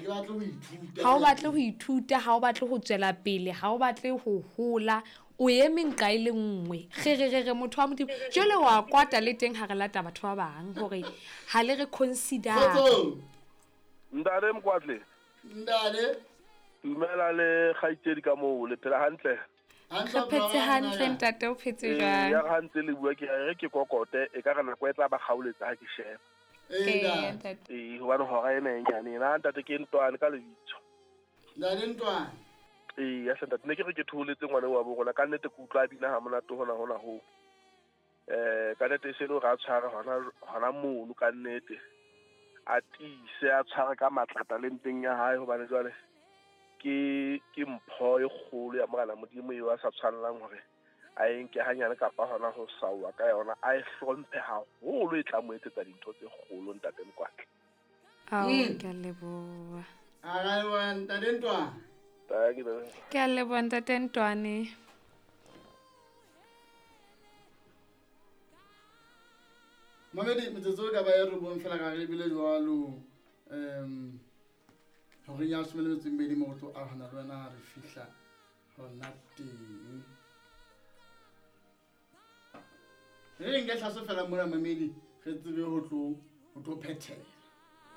ke batle ho ithuta. Ha o batle ho ithuta, ha o batle ho tswela pele, ha o batle ho hola, o eme nqa e le nngwe. Kgererere motho wa Modimo. Jwale wa kwata le teng ha re lata batho ba bang hore ha le re consider. Kgotsong. Ntate Mokwatle. Ntate. Dumela le kgaitsedi ka moo, le phela hantle? Re phetse hantle ntate, o phetse jwang? Ya ha ntse le bua ke re ke kokote, e ka re nako e tla ba kgaoletsa ha ke sheba. Ee, ntate. Ee, hobane hora ena e nyane ena ntate ke Ntwane ka lebitso. Ntate Ntwane. Ee, ya ntate ne ke re ke thoholetse ngwana wa bo rona ka nnete ke utlwa a bina ha monate hona hona ho. Ka nnete e se le hore a tshware hona hona mono ka nnete. A tiise a tshware ka matla talenteng ya hae hobane jwale ke ke mpho e kgolo ya Morena Modimo eo a sa tshwanelang hore a e nke hanyane kapa hona ho saoa ka yona, a e hlomphe haholo, e tla mo etsetsa dintho tse kgolo ntate Mokwatle. Ao, ke a leboha. A ra leboha ntate Ntwane. Thank you, ntate. Ke a leboha ntate Ntwane. Mamedi, metsotso e ka ba e robong fela ka re ebile jwalo horeng ya leshome le metso e mmedi mo go tlo arogana le wena ha re fihla hona teng. Re nke tlhaso fela mona mamedi re tsebe ho tlo phethela.